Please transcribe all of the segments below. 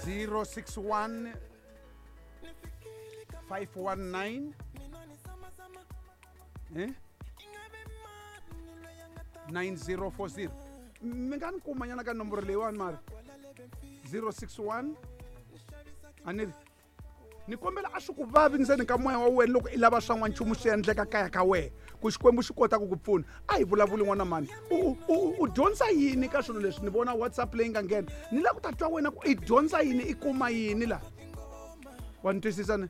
061 519 eh 9040. Mi nga ni kuma nyana ka nomboro leyiwani mara 061 a ni ri ni kombela a swi ku vavi ndzeni ka moya wa wena loko i lava swa n'wanchumu swi endleka kaya ka wena ku Xikwembu xi kota ku ku pfuna. A hi vulavuli n'wana mani, u dyondza yini ka swilo leswi? Ni vona WhatsApp leyi nga nghena, ni lava ku ta twa wena ku i dyondza yini, i kuma yini laha. Wa ni twisisa ni?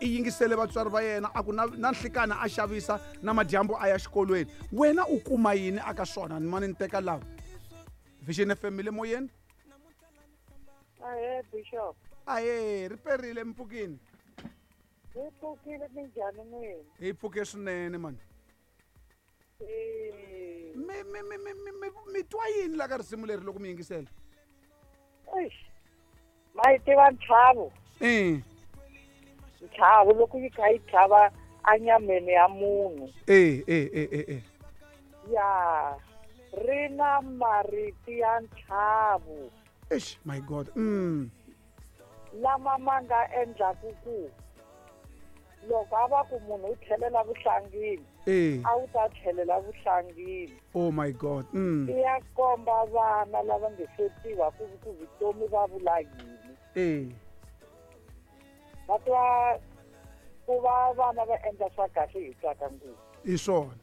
I yingisele vatswari va yena, a ku na nhlikana a xavisa, na madyambu a ya xikolweni. Wena u kuma yini aka swona? Ni mani ni teka laha Vision FM le moyeni. Ahee Bishop. Ahee, ri perile mpfukini. Hi pfukile, minjhani n'wina? Hi pfuke swinene mani. Mi twa yini la ka risimu leri loko mi yingisela? Eish. Ma yi tiva ntlhavo? Ntlhavo loko yi kha yi tlhava anyameni ya munhu. Ya, ri na marito ya ntlhavo. Eish, my God. Lama ma nga endlaku ku loko a va ku munhu u tlhelela vuhlangini, a wu ta tlhelela vuhlangini. Oh my God. I ya komba vana lava nge se tiva ku vutomi va vula yini. Va twa ku va vana va endla swa kahle hi tsaka ngopfu. I swona.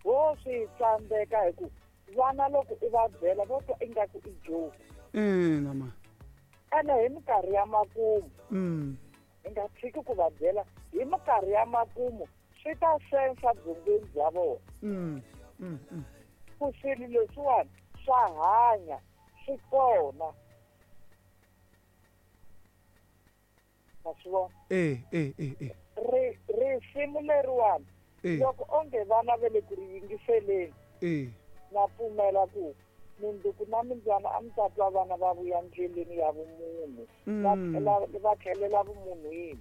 Wo swi tsandzeka hi ku vana loko i va byela vo twa ingaku i joke. Nama. Ene hi minkarhi ya makumu. Hi nga tshiki ku va byela hi minkarhi ya makumu swi ta sensa byongweni bya vona. Ku swilo leswiwani swa hanya, swi kona. Ma swi vona? Risimu leriwani loko onge vana va le ku ri yingiseleni, na pfumela ku minduku na mindzwana a mi ta twa vana va vuya ndleleni ya vumunhu, va tlhelela vumunhwini.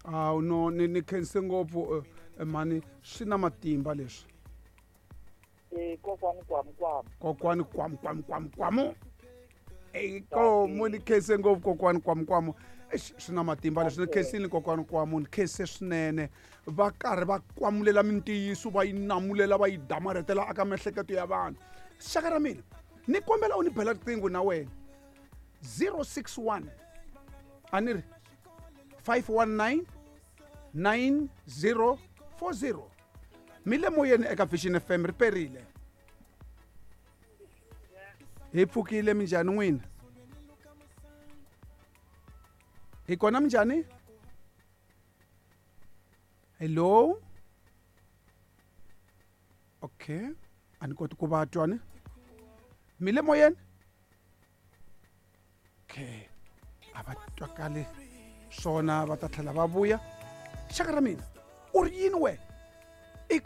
Awu no, ni khense ngopfu mani, swi na matimba leswi. Kokwani kwamu kwamu. Kokwani kwamu kwamu kwamu kwamu. Ikomu ni khense ngopfu kokwani kwamu kwamu. Swi na matimba leswi, ni khensile kokwani kwamu, ni khense swinene. Va karhi va kwamulela mintiyiso, va yi namulela, va yi damarhetela aka miehleketo ya vanhu. Xaka ra mina, ni kombela u ni bela riqingho na wena. 061 a ni ri 519 9040. Mi le moyeni eka Vision FM, ri perile. Hi pfukile, minjhani n'wina? Hi kona minjhani? Hello? Okay, a ni koti ku va twa ni. Mi le moyeni? Okay, a va twakali swona, va ta tlhela va vuya. Xaka ra mina, u ri yini wena? I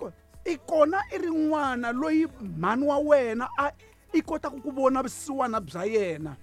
kona i ri n'wana loyi mhani wa wena a i kotaka ku vona vusiwana bya yena.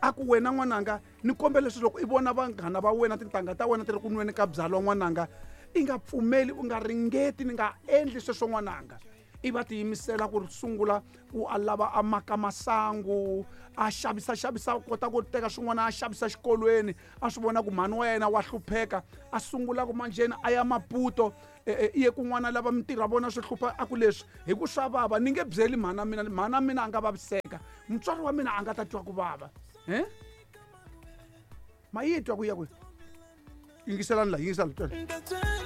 A ku wena n'wananga, ni kombela leswi loko i vona vanghana va wena, tintangha ta wena ti ri ku nweni ka byalwa n'wananga, i nga pfumeli, u nga ringeti, ni nga endli sweswo n'wananga. I va tiyimisela ku sungula ku a lava a maka masangu, a xavisa xavisa, kota ku teka swin'wana a xavisa xikolweni, a swi vona ku mhani wa yena wa hlupheka, a sungula ku manjheni a ya Maputo, i ye kun'wana lava mintirho ya vona swi hlupha, a ku leswi hi ku swa vava, ni nge byeli mhana mina, mhana mina a nga vaviseka, mutswari wa mina a nga ta twa ku vava. Ma yi twa ku ya kwihi? Yingiselani la, yingiselani, twela.